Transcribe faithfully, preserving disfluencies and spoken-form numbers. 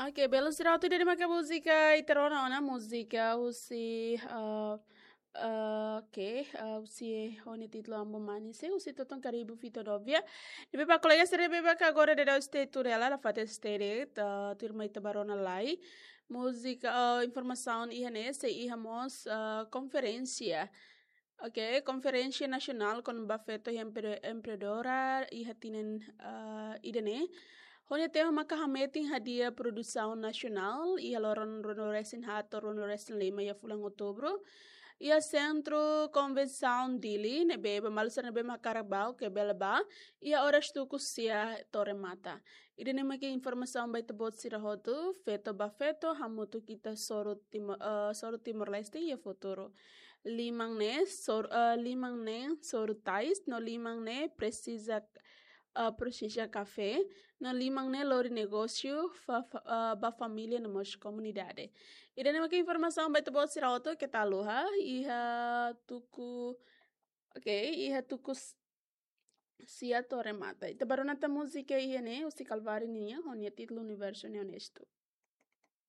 Ok, belun sira hotu, ida-ne'e maka múzika ita rona ona, múzika husi, ah, ah, ok, ah, husi ho nia títulu Ambo Manise, husi Toton Karibu Vito Dovia. Ne'ebé ba kolega sira ne'ebé maka agora daudaun stay tuir hela, la fatin stay de'it, ah, tuirmai ita ba rona lai. Múzika, ah, informasaun iha ne'e, sei iha mós, ah, konferénsia. Ok, Konferénsia Nasionál kona-ba Feto Empre-, Empreendedora iha tinan, ah, ida-ne'e. Ho nia tema maka hametin hadi'a produsaun nasionál iha loron ruanulu-resin-haat to'o ruanulu-resin-lima iha fulan Outubru. Iha Sentru Konvensaun Dili, ne'ebé ba maluk sira ne'ebé mak hakarak bá, ke bele bá, iha oras tuku sia to'o remata. Ida-ne'e maka informasaun ba ita-boot sira hotu, feto ba feto, hamutuk ita soru Timo-, eh, soru Timor-Leste iha futuru. Liman ne'e sor-, eh, liman ne'e soru tais, no liman ne'e presiza, eh, presiza kafé, no liman ne'e lori negósiu fa-, fa-, eh, ba família no mós komunidade. Ida-ne'e maka informasaun ba ita-boot sira hotu, keta haluha, iha tuku, ok, iha tuku s-, sia to'o remata. Ita ba rona tan múzika iha ne'e, husi Calvário nian, ho nia títulu Universo Ne'e Honesto.